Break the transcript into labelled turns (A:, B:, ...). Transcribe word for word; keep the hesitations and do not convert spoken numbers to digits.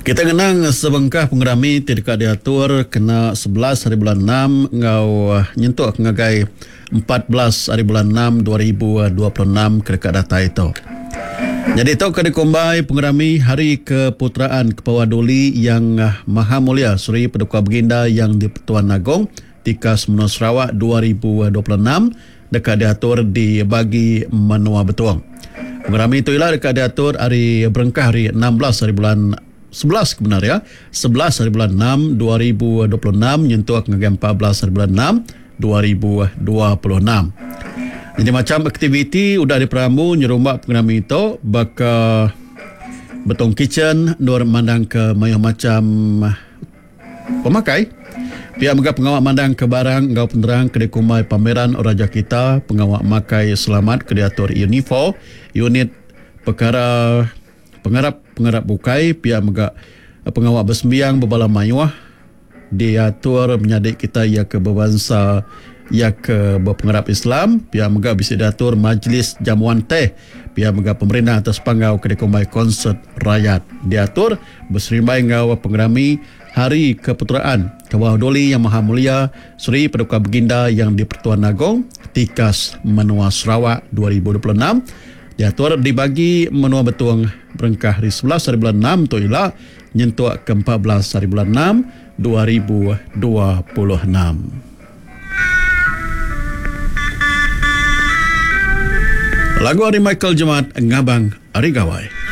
A: Kita ngenang sebengkah pengerami ti deka diatur kena sebelas hari bulan enam enggau nyentuk ngagai empat belas hari bulan enam dua ribu dua puluh enam ke deka datai tu. Jadi tu ke dikumbai pengerami Hari Keputeraan Kepawah Duli Yang Maha Mulia Seri Paduka Baginda Yang di-Pertuan Agong Tikas Menua Sarawak dua ribu dua puluh enam deka diatur di bagi menua Betong. Pengerami tu ila deka diatur hari berengkah hari enam belas hari bulan sebelas kebenar ya, sebelas hari bulan enam dua ribu dua puluh enam nyentuk ngagai empat belas hari bulan enam dua ribu dua puluh enam. Jadi macam aktiviti udah diperambu nyerumba pengerami itu baka Betong Kitchen nur mandang ke mayuh macam pemakai. Pihak mega pengawak mandang ke barang enggau penerang ke dikumbai pameran Raja Kita, pengawak makai selamat ke diatur Unifor, unit perkara pengarap-pengarap bukai, pihak mega pengawak bersembiang berbala mayuh diatur menyadik kita ia ke berbangsa ia ke berpengarap Islam, pihak mega bisa diatur majlis jamuan teh, pihak mega pemerintah atas panggau ke dikumbai konsert rakyat diatur berserimbai enggau pengerami Hari Keputeraan Kebawah Duli Yang Maha Mulia Seri Paduka Baginda Yang di-Pertuan Agong Tikas Menua Sarawak dua ribu dua puluh enam diatur dibagi menua Betong berengkah hari sebelas hari bulan enam tu ila nyentuk ke empat belas hari bulan enam dua ribu dua puluh enam. Lagu ari Michael Jemat Ngabang Ari Gawai.